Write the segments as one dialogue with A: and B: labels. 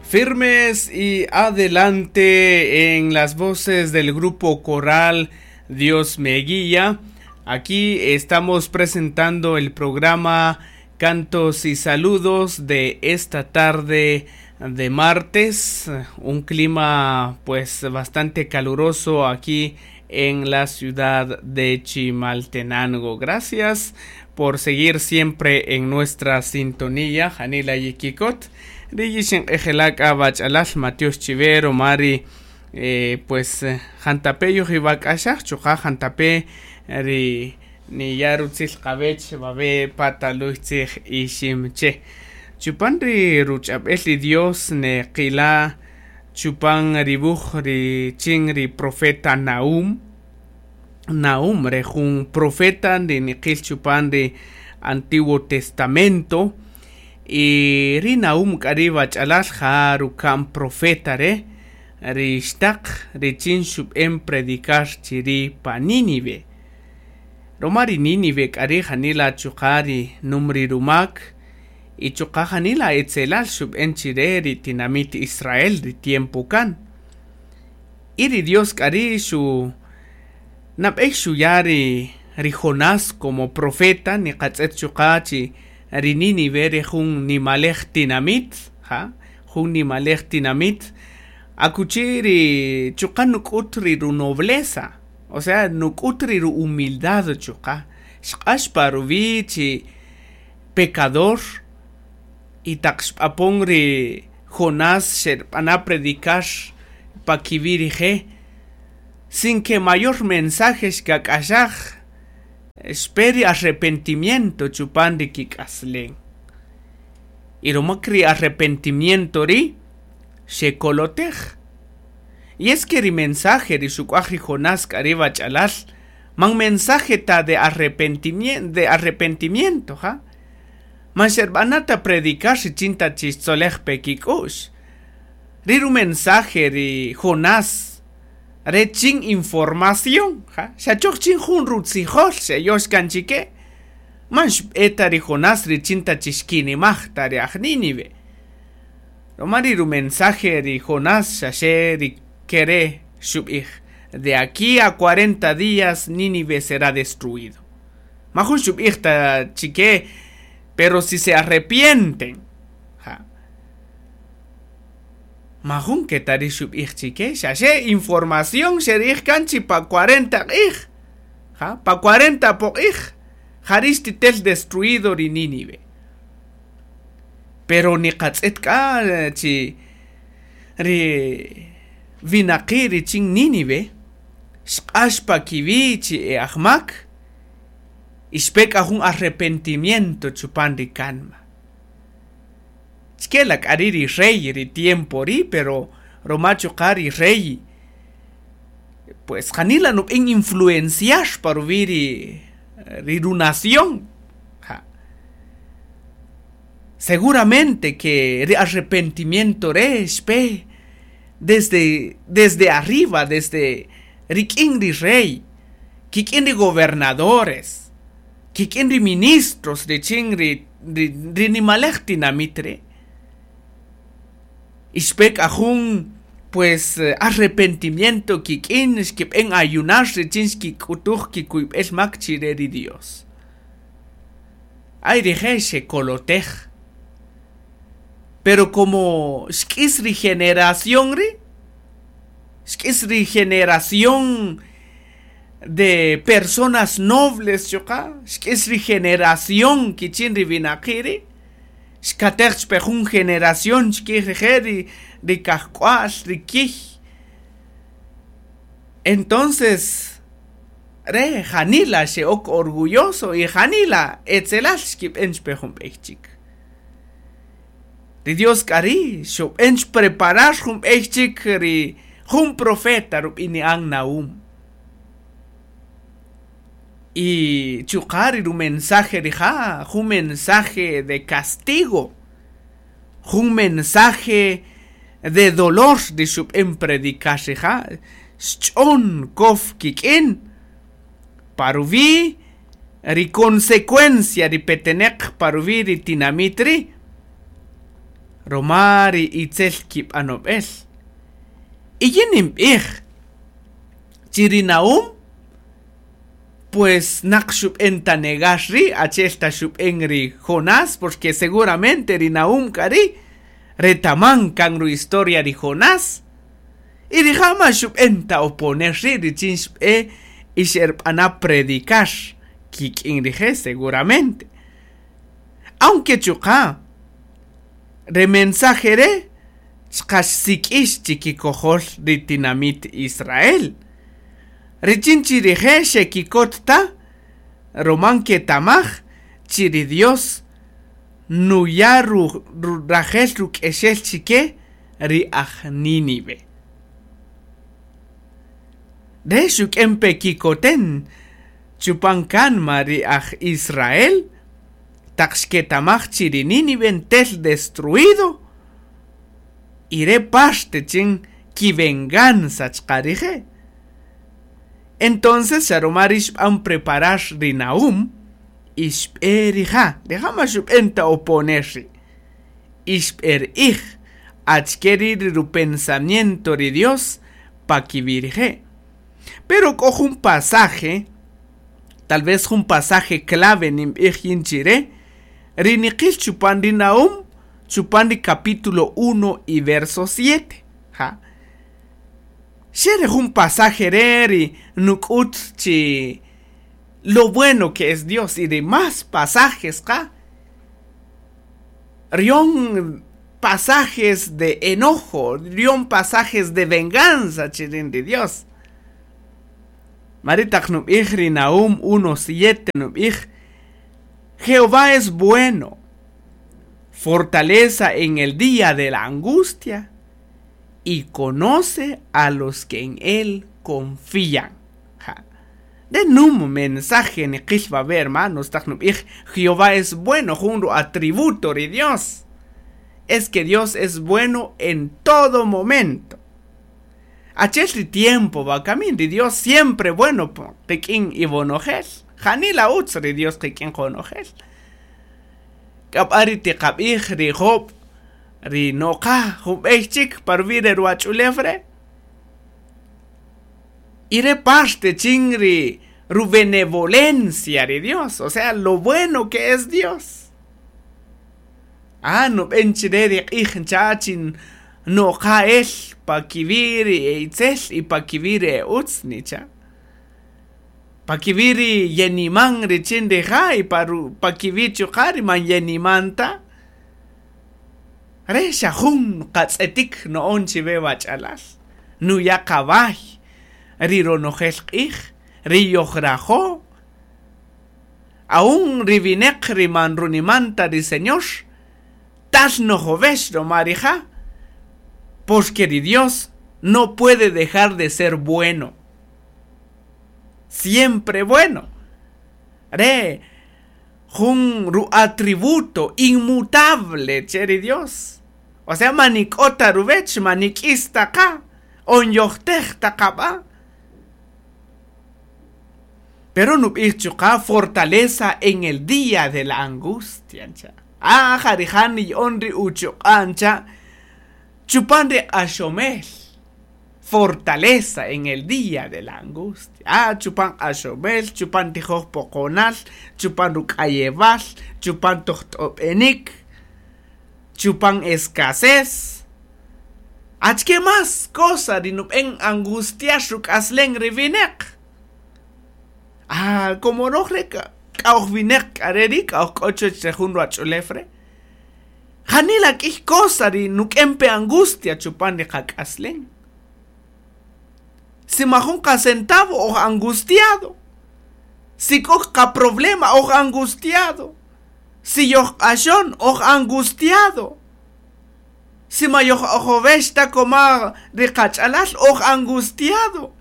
A: Firmes y adelante en las voces del grupo coral Dios me guía. Aquí estamos presentando el programa Cantos y Saludos de esta tarde de martes, un clima pues bastante caluroso aquí en la ciudad de Chimaltenango. Gracias por seguir siempre en nuestra sintonía. Janila Yikikot, Riyishin Ejelak Abachalal, Matios Chivero, Mari, pues Jantape Yojibak Chuja Jantape, Ri Niyarutzil Kabech, Babe Pataluitzig Ishimche. Chupan ri ruch'ab'el ri Dios ne qila chupan ribuj ri chin ri profeta Nahum. Nahum re jun profeta ri niqil chupan ri Antiguo Testamento. Y ri Nahum k'ari wach'alal ja rukam profeta re ri xtaq ri chin xub'en predicar chiri pa Nínive. Roma ri Nínive k'ari janila chuqa ri numri rumak y chuqa janila etzelal xub'en chire ri tinamit Israel ri tiempo kan. Y ri Dios k'ari xu nab'ej xuya ri Jonás como profeta niqatz'et chuqa chi ri Nínive ri jun nimalej tinamit, ja, jun nimalej tinamit akuchi ri chuqa nuk'ut ri runobleza, o sea, nuk'ut ri humildad chuqa xq'ax pa ruwi chi pecador y taq xb'apon ri Jonás xerb'ana predicar pa kiwi rije sin que mayor mensaje xkak'axaj xpe ri arrepentimiento chupan ri kik'aslen. Y romak ri arrepentimiento ri xekolotej. Y es que ri mensaje ri xuk'uaj ri Jonás k'ari wach'alal man mensaje ta de arrepentimiento, ja. Man xerb'anata predicar richin ta chixtzolej pe kik'u'x. Ri ru mensaje ri Jonás re chin información, ja, xachoj chin jun rutzijol xeyox kan chike. Man xb'eta ri Jonás richin ta chixkinimaj ta ri aj Nínive. Roma ri ru mensaje ri Jonás xaxe ri kere xub'ij. De aquí a 40 días Nínive será destruido. Majun xub'ij ta chike, pero si se arrepienten, ja. Majun que tari xub'ij chike, xaxe información xerij kanchi pa 40 q'ij, ja, pa 40 poq'ij, jarix titel destruido ri Nínive. Pero niqatz'et k'a chi ri winaqi ri chin Nínive xq'ax pa kiwi chi e ajmak y xpe k'a jun arrepentimiento chupan ri kanma. Chkela k'ari ri rey ri tiempo ri, pero roma chuqa ri rey pues janila nub'en influenciar pa ruwi ri runación. Ja. Seguramente que ri arrepentimiento re xpe desde arriba, desde rik'in ri rey, kik'in ri gobernadores, kik'in ri ministros richin ri nimalej tinamit re. Y xpe k'a jun pues arrepentimiento kik'in xkib'en ayunar richin xkik'utuj kikuyb'el mak chire ri Dios. Ay rije xekolotej. Pero como xk'is ri generación ri, xk'is ri generación de personas nobles chuqa, xk'is ri generación kichin ri winaqi ri, xkatej xpe jun generación xk'ij rije ri kajk'wa'l ri kij. Entonces re janila xe'ok orgulloso y janila etzelal xkib'en xpe jun b'ey chik. Ri Dios k'ari xub'en preparar jun b'ey chik ri jun profeta rub'ini'an Nahum. Y chuqa ri ru mensaje rija, jun mensaje de castigo, jun mensaje de dolor ri xub'en predicar rija, xch'on kof kik'in paruwi ri consecuencia ri peteneq paruwi ri tinamit ri. Roma ri itzel kib'anob'el. Y yin ninb'ij chi ri Nahum pues naq xub'en ta negar ri' achi'el ta xub'en ri Jonás, porque seguramente ri Nahum k'a ri' retaman kan ru-historia ri Jonás, y rija' man xub'en ta oponer ri' richin xb'e y xerb'ana' predicar kik'in rije' seguramente. Aunque chuqa' re mensaje re' chuqa' xsik'ix chikikojol ri tinamit Israel, richin chi rije' xekikot ta ruma nketamaj chi ri Dios nuya' rajel ruk'exel chike ri aj Nínive. Re' xuk'en pe kikoten chupan kanma ri aj Israel taq xketamaj chi ri Nínive ntel destruido y re' parte chin kivenganza chuqa' rije'. Entonces xa ruma ri' xb'an preparar ri Nahum y xb'e rija', rija' man xub'en ta oponer ri', y xb'er'ij achike ri' ri rupensamiento ri Dios pa kiwi' rije'. Pero k'o jun pasaje, tal vez jun pasaje clave ninb'ij yin chire, ri niqil chupan ri Nahum, chupan ri capítulo 1 y verso 7. Ja. Xe re jun pasaje re' ri nuk'ut chi lo bueno que es Dios y demás pasajes qa. Rion pasajes de enojo, rion pasajes de venganza chirin ri Dios. Mari taq nub'ij ri Nahum 1:7 nub'ij, Jehová es bueno, fortaleza en el día de la angustia y conoce a los que en él confían. Ja. De num mensaje niqil va ver, hermanos, taq nub'ij, Jehová es bueno, jun ru atributo ri Dios. Es que Dios es bueno en todo momento. Achel ri tiempo va kamin, ri Dios siempre bueno, po, qik'in ibonojel. Janila utz ri Dios qik'in qonojel. K'ab'a ri tiqab'ij ri Job, ri noqa jub'ey chik parwi re ruwach'ulew re'. Y re parte chin ri rubenevolencia ri Dios, o sea, lo bueno que es Dios. Ah, nub'en chire ri q'ij ncha chin noqa el pa kiwi' ri itzel y pa kiwi' ri utz nicha. Pa kiwi' ri yeniman richin rija' y pa ru, pa kiwi' chuqa' ri man yeniman ta. Re xa jun qatz'etik no'on chiwe wach'alal. Nuya qaway ri ronojel q'ij, ri yojrajo. Aún ri wineq ri man runimanta ri Señor, tal nojovex roma rija', porque ri Dios no puede dejar de ser bueno. Siempre bueno. Re jun ru atributo inmutable che ri Dios. O sea, manik'ota ruwech, manik'is ta qa, on yojtej ta qab'a. Pero nub'ij chuqa' fortaleza en el día de la angustia, ncha. Ah, jarija' niy'on ri uchuq'a', ncha. Chupan ri q'axomel. Fortaleza en el día de la angustia. Ah, chupan q'axomel, chupan tijoj poqonal, chupan ruk'ayewal, chupan tojt'ob'enik, chupan escasez. Achike más cosa ri nub'en angustiar ruk'aslen ri wineq. Ah, como roj re k'a'oj wineq k'a re ri' k'a'oj k'o chuwach re jun ruwach'ulew re'. Janila k'ij cosa ri nuk'en pe angustia chupan ri qak'aslen. Si majun qa centavo oj angustiado. Si k'o qa problema oj angustiado. Si yoj q'axon oj angustiado. Si ma yoj ojovex ta koma ri qach'alal oj angustiado.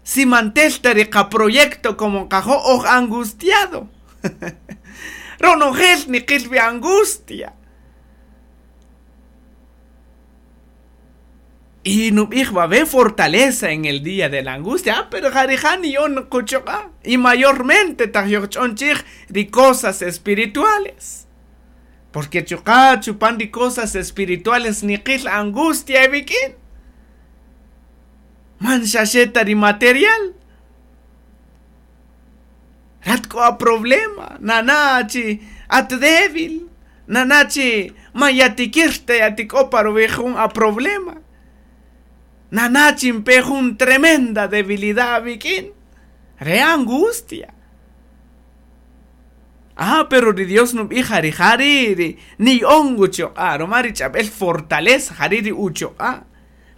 A: Si mantel ta ri qa proyecto como qajo oj angustiado. Ronojel niqil wi angustia. Y nub'ij va ve fortaleza en el día de la angustia. Ah, pero jarija ni yon quchuqa. Y mayormente taq yojch'on chij ri cosas espirituales. Porque chuqa chupan ri cosas espirituales niqil angustia iwik'in. Man xa xe ta ri material. Rat k'o a problema, nana' chi at débil, nana' chi man yatikir ta yatik'o pa ruwi' jun a problema. Nana' chi npe jun tremenda debilidad awik'in, re angustia. Ah, pero ri Dios nub'ij ja rija' ri' ri niya'on uchuq'a' ruma ri ch'ab'el fortaleza jari' ri uchuq'a',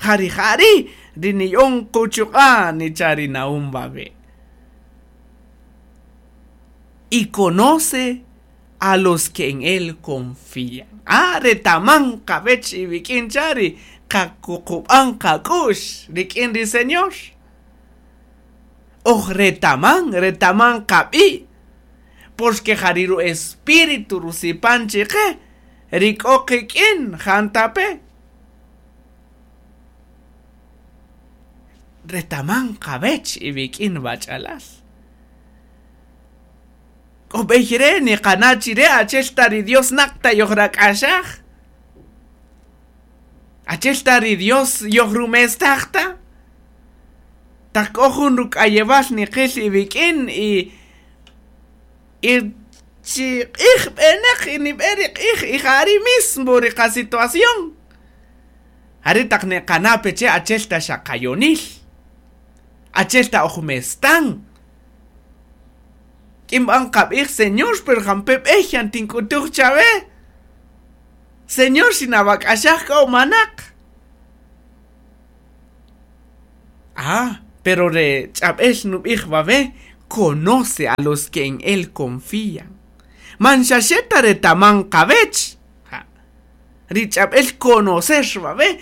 A: ja rija' ri' ri niya'on quchuq'a' nicha' ri Nahum wawe'. Y conoce a los que en él confían. Ah, retaman qawech iwik'in cha ri qakuqub'an qak'u'x rik'in ri Señor. Oj retaman, retaman qab'i', porque ja ri ru-espíritu rusipan chiqe ri k'o qik'in jantape'. Retaman qawech iwik'in wach'alal. K'o b'ey re' niqana' chi re' achi'el ta ri Dios naq ta yojrak'axaj. Achi'el ta ri Dios yojrumestaj ta. Taq k'o jun ruk'ayewal niqil iwik'in y y chi q'ij b'enaq y nib'e ri q'ij y ja ri' mismo ri qa-situación. Jari' taq niqana' pe che achi'el ta xa qayonil, achi'el ta oj mestan. K'in b'an qab'ij, Señor, pero jampe' b'ey yan tink'utuj chawe. Señor, xinawak'axaj k'a o manaq. Ah, pero re ch'ab'el nub'ij wawe' conoce a los que en él confían. Man xa xe ta retaman qawech. Ja. Ri ch'ab'el conocer wawe'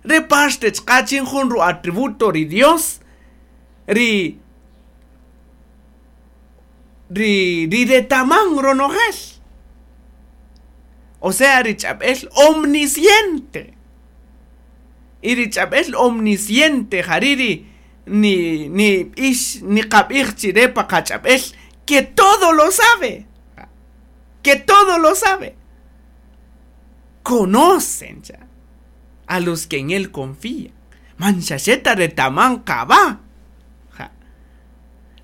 A: re parte chqa chin jun ru-atributo ri Dios ri ri ri retaman ronojel. O sea, ri ch'ab'el omnisciente. Y ri ch'ab'el omnisciente jari' ri ni ni b'ix niqab'ij chire pa qach'ab'el que todo lo sabe. Que todo lo sabe. Conocen cha a los que en él confían. Man xa xe ta retaman qaba. Ja.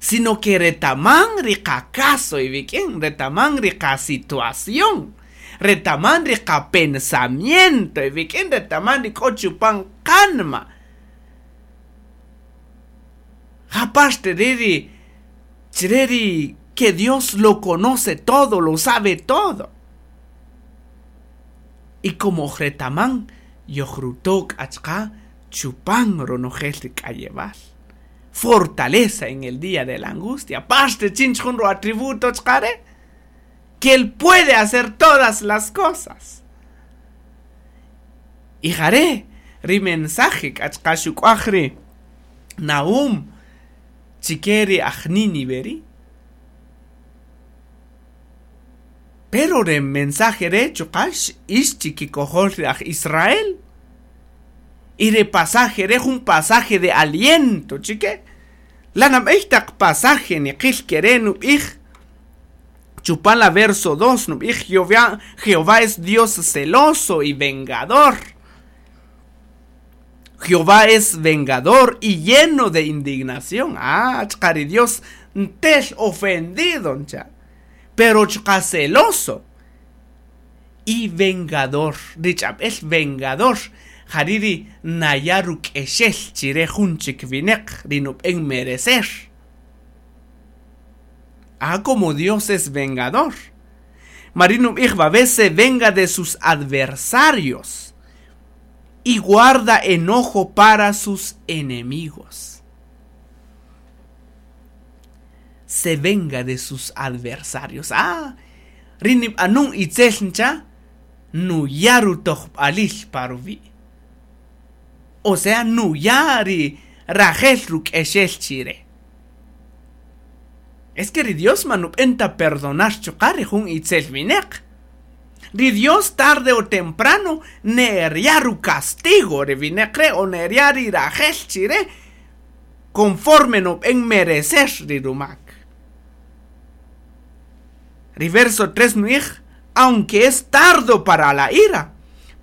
A: Sino que retaman ri qacaso iwik'in, retaman ri qa-situación, retaman ri qa-pensamiento iwik'in, retaman ri k'o chupan qanma. Ja parte re ri chire ri que Dios lo conoce todo, lo sabe todo. Y como retaman yojrutok achqa chupan ronojel ri k'ayewal. Fortaleza en el día de la angustia. Parte chin jun ru atributo chqare que él puede hacer todas las cosas. Y jare ri mensaje k'achqa xuk'uaj ri Nahum chike ri aj Nínive ri. Pero re mensaje re chuqa ix chikikojol ri aj Israel. Y re pasaje re jun pasaje de aliento chike. La nab'ey taq pasaje niqil kere nub'ij chupan la verso 2 nub'ij Jehová, Jehová es Dios celoso y vengador. Jehová es vengador y lleno de indignación. Ah, chqari Dios ntel ofendido, ncha. Pero chqa celoso y vengador. Rich'ab'el vengador. Jariri naya ruk'exel chire jun chik wineq ri nub'en merecer. Ah, como Dios es vengador. Marino nub'ij se venga de sus adversarios y guarda enojo para sus enemigos. Se venga de sus adversarios. Ah, rinib anun itzel ncha nuyaru tojb'alil paruvi. O sea, nuyari rajel ruk'exel chire. Es que ri Dios manub'enta perdonar chuqa' jun itzel wineq. Ri Dios tarde o temprano ne'erya castigo ri wineq re' o ne'erya ri rajel chire conforme nub'en merecer ri rumak. Ri verso 3 nu'ij Aunque es tardo para la ira,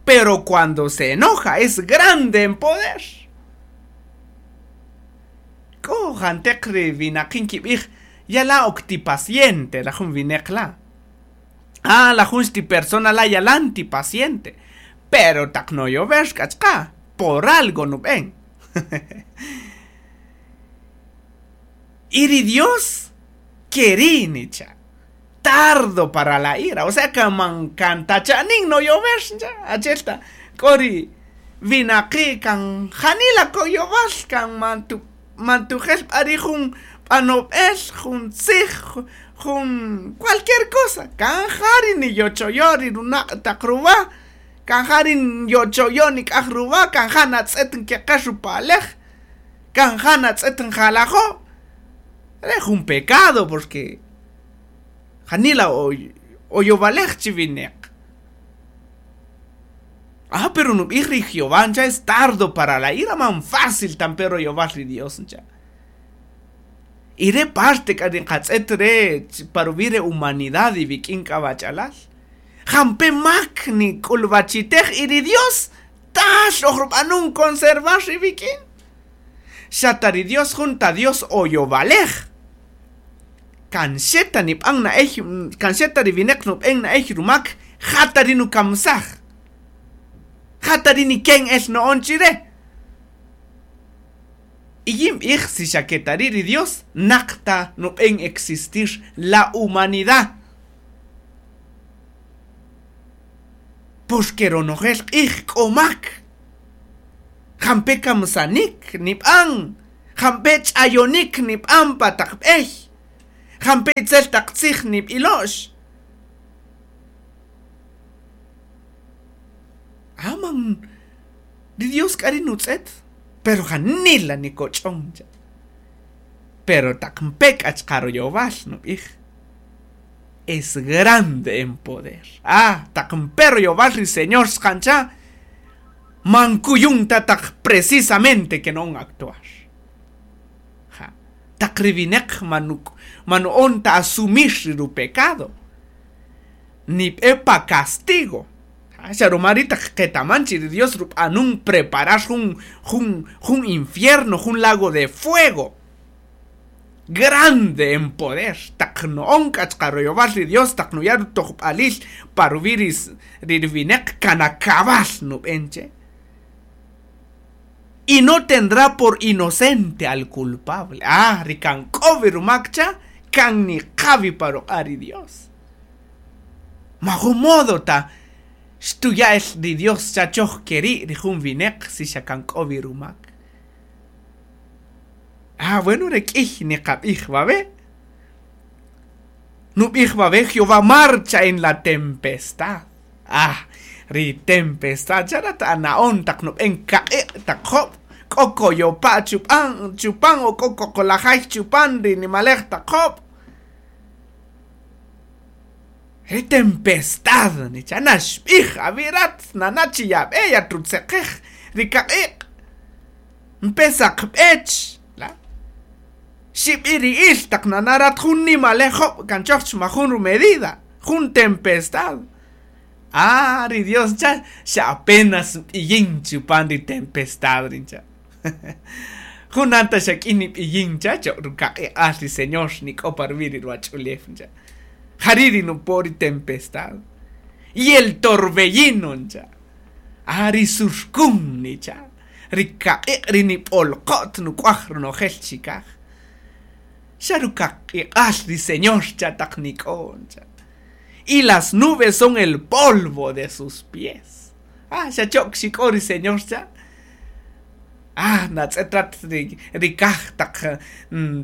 A: pero cuando se enoja es grande en poder. K'o janteq ri winaqi' nkib'ij yala ok ti paciente la jun wineq la'. Ah, la jun xti persona la' yalan ti paciente, pero taq noyover k'a chqa por algo nub'en. Y ri Dios keri' nicha', tardo para la ira, o sea kan man kan ta cha'nin noyover ncha', achi'el ta k'o ri winaqi' kan janila koyowal kan man tu man tujel b'a ri' jun b'anob'el, jun tzij, jun cualquier cosa, kan ja ri niyochoyo ri runaq' taq ruwa, kan ja ri nyochoyo nik'aj ruwa, kan ja natz'et nkeqex rupalej, kan ja natz'et njalajo', re' jun pecado porque janila oyowalej chi wineq. Ah, pero nub'ij ri Jehová ncha' es tardo para la ira, man fácil ta npe royowal ri Dios ncha'. Y re' parte k'a ri nqatz'et re' pa ruwi' re humanidad iwik'in k'a wach'alal. Jampe' mak nik'ulwachitej y ri Dios tal oj rub'anun conservar iwik'in. Xa ta ri Dios jun ta Dios oyowalej. Kan xe ta nib'an na'ey, kan xe ta ri wineq nub'en na'ey rumak, ja ta ri nukamsaj. Ja ta ri niken el no'on chire. Y yin b'ij si xa ke ta ri' ri Dios naq ta nub'en existir la humanidad. Porque ronojel q'ij k'o mak. Jampe' kamsanik nib'an, jampe' ch'ayonik nib'an pa taq b'ey, jampe' itzel taq tzij nib'ilo'x. Ah, man, ri Dios k'a ri' nutz'et, pero janila nikoch'on cha. Pero taq npe k'a chqa royowal nub'ij, es grande en poder. Ah, taq npe royowal ri Señor xqancha, man kuyun ta taq precisamente que non actuar. Ja, taq ri wineq man nu'on ta asumir ri rupecado, nib'e pa castigo. Xa ruma ri' taq qetaman chi ri Dios rub'anun preparar jun, jun, jun infierno, jun lago de fuego grande en poder. Taq no'on k'a chqa royowal ri Dios, taq nuya' rutojb'alil pa ruwi' ri ri wineq kan akab'al nub'en che. Y no tendrá por inocente al culpable. Ah, ri kan k'o wi rumak cha, kan niqa wi pa ruq'a' ri Dios. Majun modo ta xtuya' el ri Dios cha choj keri' ri jun wineq si xa kan k'o wi rumak. Ah, bueno, re k'ij niqab'ij wawe'. Nub'ij wawe' Jehová marcha en la tempestad. Ah, ri tempestad cha rat ana'on taq nub'en kaq'iq' taq job', k'o koyopa' chupan, chupan o k'o koqolajay chupan ri nimalej taq job'. Ri tempestad nicha naxb'ij awi' rat nana' chi yab'e yatrutzeqej ri kaq'iq'. Npe saqb'ech la xib'iri'il taq nana' rat jun nimalej job' kan choj majun rumedida, jun tempestad. Ah, ri Dios cha xa apenas b'iyin chupan ri tempestad rincha. Jun anta xa k'in nib'iyin cha cho rukaq'iq'al ri Señor nik'o pa ruwi' ri ruwach'ulew ncha. Jari' ri nupo ri tempestad. Y el torbellino ncha. Ah, ri surkun nicha. Ri kaq'iq' ri nib'olqot nuk'waj ronojel chikaj. Xa rukaq'iq'al ri Señor cha taq nik'o ncha. Y las nubes son el polvo de sus pies. Ah, xa chok xik'o ri Señor cha. Ah, natz'et rat ri ri kaj taq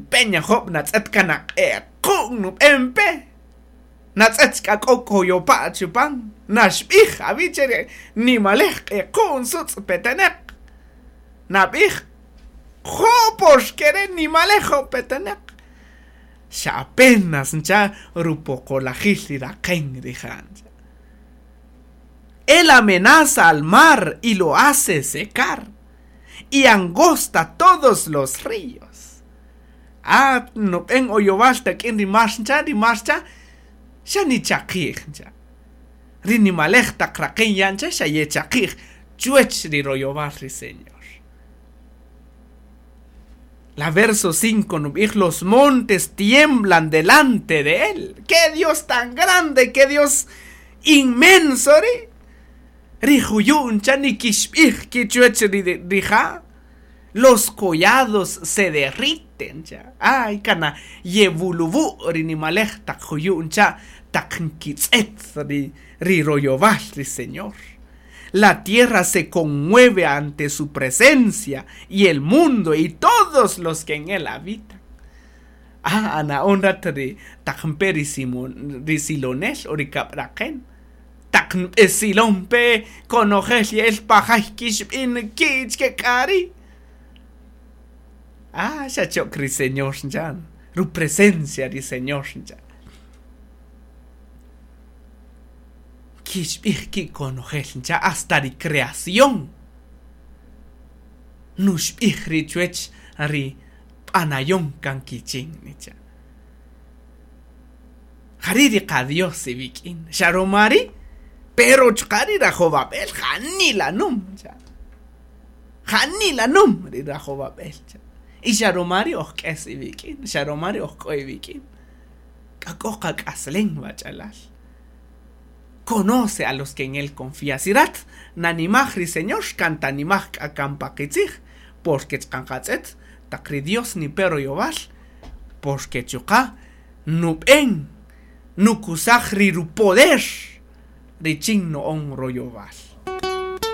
A: peña job' natz'et kanaq'equn nub'en pe. Natz'et k'a k'o koyopa' chupan. Naxb'ij awi' che ri nimalej q'equn sutz' peteneq. Nab'ij jo' porque re nimalej job' peteneq. Xa apenas ncha rupoqolajil ri raqen rija' ncha. Él amenaza al mar y lo hace secar y angosta todos los ríos. Ah, nub'en oyowal tak'in ri mar ncha, ri mar cha, xa nichaqij ncha. Ri nimalej taq raqen ya' ncha xa yechaqij chuwech ri royowal ri Señor. La verso 5 nub'ij los montes tiemblan delante de él. ¡Qué Dios tan grande! ¡Qué Dios inmenso ri! Ri juyu' ncha nikixb'ij ki chuwech ri rija'. Los collados se derriten ncha. Ay, kana yewuluwu' ri nimalej taq juyu' ncha taq nkitz'et ri ri royowal ri Señor. La tierra se conmueve ante su presencia y el mundo y todos los que en él habitan. Ah, ana'on rat ri taq npe ri Simón, ri silonel o ri kab'raqen. Taq nb'esilon pe konojel ye'el pajay kixb'in ki' chke k'a ri'. Ah, xa chok ri Señor ncha, ru presencia ri Señor ncha. Kixb'ij ki' konojel ncha hasta ri creación. Nuxb'ij ri chuwech ri b'anayon kan kichin nicha. Jari' ri qa-Dios iwik'in, xa ruma ri', pero chuqa' ri rajowab'el janila nüm cha. Janila nüm ri rajowab'el cha. Y xa ruma ri' oj k'es iwik'in, xa ruma ri' oj k'o iwik'in. K'a k'o qak'aslem wach'alal. Conoce a los que en él confía. Si rat nanimaj ri Señor, kan tanimaj k'a kan pa qitzij, porque chuqa' nqatz'et taq ri Dios nipe royowal, porque chuqa' nub'en nukusaj ri rupoder richin no'on royowal.